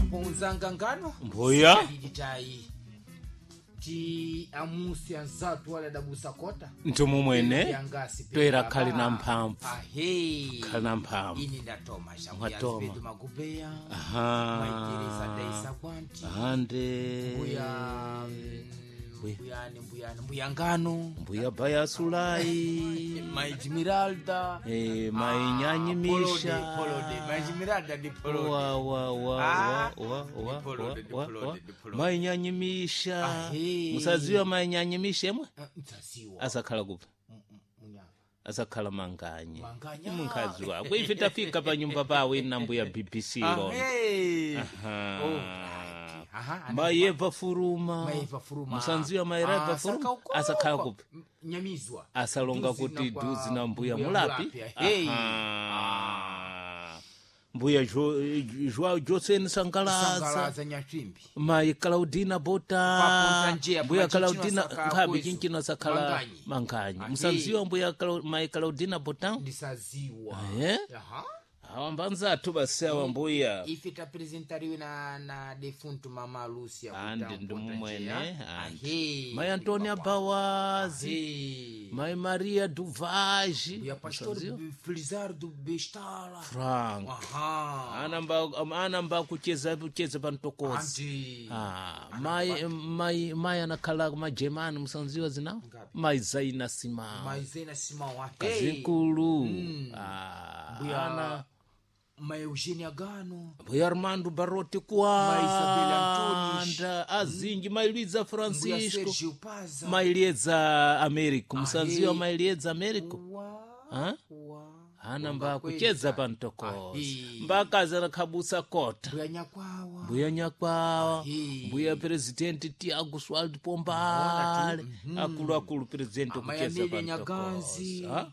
Apo unzanga ngano Mbuya. Sikadiditayi ti amusi anzatu wale adabusa kota Ntumumwene Yangasi toera pera khali ba. na mphamvu. Ahe. Khali na mphamvu. Ini ndatoma Mwatoma. shakuyazipetu magubeya. Aha. Maiteresa daisa kwanti. Ande. Mbuya mbuyani mbuyani mbuya ngano. Mbuya bayasulai. Maijimiralda. Eh, mainyanyimisha. Polode, Maijimiralda ndi polode. Wa wa wa Ah. wa wa wa Polode, wa wa polode, wa. polode. Mainyanyimisha. Ahe. Musaziwa mainyanyimisha emwe? Ah, Mtsaziwa. Asakhala kuphi? Munyava. Asakhala manganye. Manganya. Mnkhazi wako. Ife tafika pa nyumba pawe na mbuya BBC lona. Ahe. Aha. Oh, right. Aha, Mayeva furuma. Maeva furuma. Musanziwa maireva Ah, furuma. saka uko. Asakhala kuphi? Nyamizwa. Asalonga Duzi kuti na kwa duzi na mbuya mulapi. Hey. Aha. Mbuya Joao Joseni Sangalaza. Sangalaza nyachimbi. Mai Claudina Bota. Paponta njia, Mbuya pa chinchino Claudina asaka nkhabi kwezo. chinchino asakhala Manganyi. manganyi. Ahe. Musanziwa mbuya Mai Claudina Bota. Ndisaziwa. Eh? Aha. Awa mbanzathu basi awa mbuya. Ife tapresentariwe na defuntu mama Lucia. Andi kuta ndimumwene. Mponta njia. Andi. Ahe. Mai Antonia Bawazi. Ahe. Mai Maria Duvaji. Mbuya Pastor Musanziwa? Felizardo Bestala. Frank. Aha. Anamba kucheza kucheza pantokozi. Andi. Ah, mai anakhala majemani musanziwa zinawo Ngapi? mai Zaina Simao Maizena Simão. Ahe. kazinkulu. Ah, Mbuya ana Ma Eugenia Gano. mbuya Armando Baroti Mai Isabel Antunes. Kuanda azinji mai Luiza Mbuya Francisco Sergio Paza. mai Liedza Americo musanziwa Ahe. mai Liedza Americo Wa. Ah? Wa. anamba Kweli kucheza sana. pantokozi Ahe. mbakazi anakhabusa kota Mbuya Nyakwawa. mbuya nyakwawa Ahe. mbuya presidenti Tiago Swald Pombale akuluakulu presidenti Amai okucheza Amelia pantokozi Nyaganzi. Ah?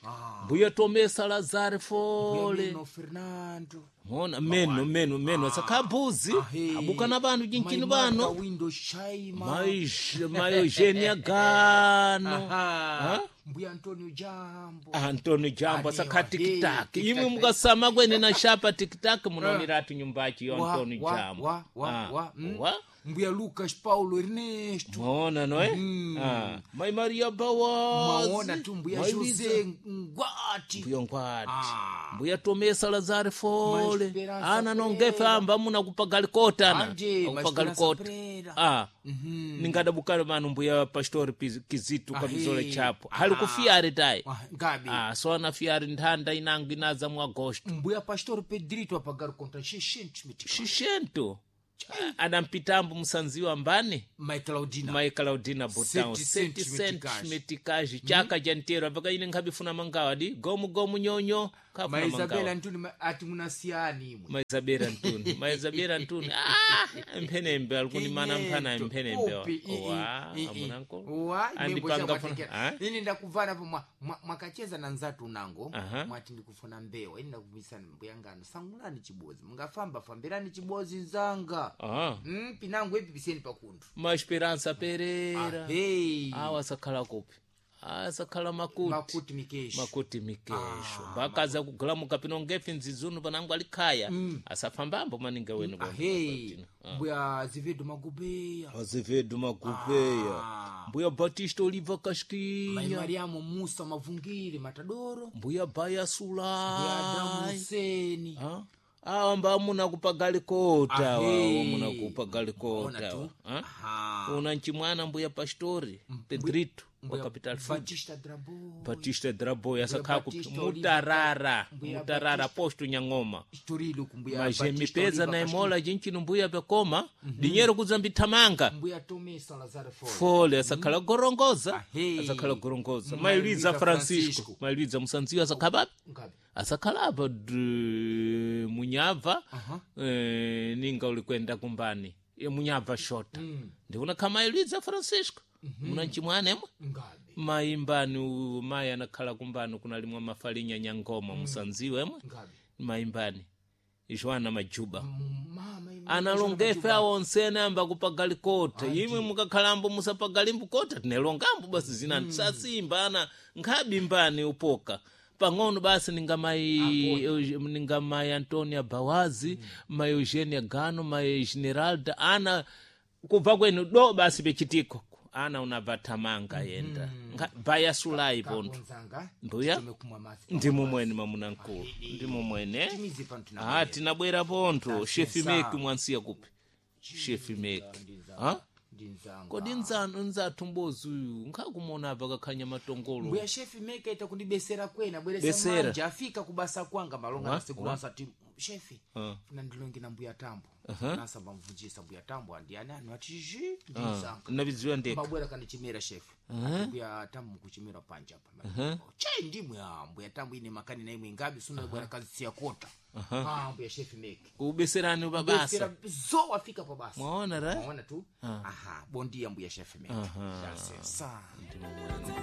Ah. mbuya Tomé Salazar Mbuya Fole Meno Fernando. mona meno meno meno asakhabuzi Ahe. abukana vanhu cinchini Mai Marta vano Windows Shaima. mai Eugenia Gano. Aha. Mbuya Antonio Jambo. Antonio Jambo Anewa, asakha tikitaki hey, imwe tikitaki. mukasama kwene na shapa tikitaki munaonera nyumbachi yo Wa, Antonio wa, Jambo. wa, wa, Ah, wa. Mm. wa? Mbuya Lucas Paulo Ernesto. Maona noe? Ah, Mai Maria Bawazi. Maona tu Mbuya Mai Luiza. Jose Ngwati. Mbuya Ngwati. Ah. Mbuya Tomé Salazar Fole. Mai Esperança Ana nongefe Pereira. amba muna kupagalikota ana. Anje, Mai Akupagali Esperança Pereira. Ah. Ningadabukana manu mbuya Pastor Kizito Ahe. kamizole chapo. Ah. Hali kufiare tai. Ah, Ngabi. Ah, so ana fiare nthanda inango inaza mu Agosto. Mbuya Pastor Pedrito apagar contra 600 meticais. Xixento. Adampitambo musanziwa mbani? Mai Claudina. Mai Claudina Botão. 700 700 meticais. meticais. Chaka jantero apaka ine nkhabifuna mangawa di gomu gomu nyonyo Mai khafuna Isabel mangawa. Antoni ati munasiyani imwe. Mai Isabel Antoni. Mai Isabel Antoni. Ah, mphenembe alikunimana mphana mphenembe. Upi, i, i, Wa, i, i. amunanko. Wa, imwe Andipanga mbosha funa. mwatekera. Ah? Ini ndakuvana po mwakacheza na nzatu unango Aha. mwati ndikufuna mbewa ini ndakubisana mbuya ngano sangulani chibozi mungafamba fambirani chibozi nzanga. Ah. Pinango ipi piseni pakunthu. Ma Esperança Pereira. Hey. Awa sakhala kupi? Ah, sakhala makuti. Makuti mikesho. Makuti mikesho. Mbakaza kugulamuka pino ngefe nzizunu panango alikhaya. Asafambambo maninga wenu bona. Ahei. Mbuya Azevedo Magubeya. Azevedo Magubeya. Ah. Mbuya Batista Oliva Mai Kashikinya. Mariamu Musa Mavungire Matadoro. Mbuya Baya Mbuya Adamu Sulai. Huseni. Ah? Awa mba muna kupagalikota Ahei. awa muna Ona kupagalikota tu. awa. Aha. Una nchimwana mbuya Pastori Pedrito wa Mbuya Capital Food. Batista Drabo. Batista Draboy asakha kupi Batista Oliva- mutarara Mbuya mutarara Batista- posto nyang'oma Istorilo kumbuya majemipeza na imola jinchino mbuya pekoma dinyero kudzambithamanga Mbuya Tomé Salazar Fole. fole asakhala gorongoza Ahei. asakhala gorongoza Mai mai Luiza Luiza Francisco Francisco. mai Luiza musanziwa asakhala papi Ngabi. asakhala apa munyabva Aha. ninga ulikwenda kumbani munyabva shota ndikuna kha mai Luiza Francisco muna nchimwana emwe Ngabi. mai mbani uyu mai anakhala kumbani kunalimwa mafalinya nyangoma musanziwa emwe Ngabi. mai mbani Joana Majuba Mama ime- analongefe awo onsene amba kupagalikota imwe mukakhalambo musapagalimbu kota tinelongambo basi zinani sasimba ana nkhabi mbani upoka. Pang'ono basi ninga mai ninga mai Antonia Bawazi, mai Eugenia Gano, mai Generalda ana kubva kwenu do basi pechitiko ana unabva thamanga yenda. Baya sulai pontho. Kakonzanga. Mbuya. Titume kumwa masi. Ndimo mwene mamuna mkulu, ndimo mwene. Timizi pano Ah, tinabwera. tinabwera pontho. Shefi Sesa. meki mwansiya kupi shefi meki? Ha? Ndinzanga. Kodi nzanu nzathu mbozi uyu nkhakumona apa kakhanya matongolo. Mbuya shefi meka ita kundibesera kwena bweresa Besera. manja afika kubasa kwanga malonga Wa? nasekulansa ti shefi Ah. funa ndilonge na mbuya tambo nasamba mvunjisa mbuya tambo andiani anu ati zhi ndinzanga. Navidziwa ndeka. Mbabwera kandichimera shefi. Ati mbuya tambo mukuchimera panja apa chai ndimwe ah, mbuya tambo ine makani na imwe ngabi suna bwera kazisiya kota ah mbuya shefi meki Kubeserani pabasa. besera zo afika pa basa. Mwaona ra. Mwaona tu aha bondia mbuya shefi meki. Dasesa. Ndimo mwene.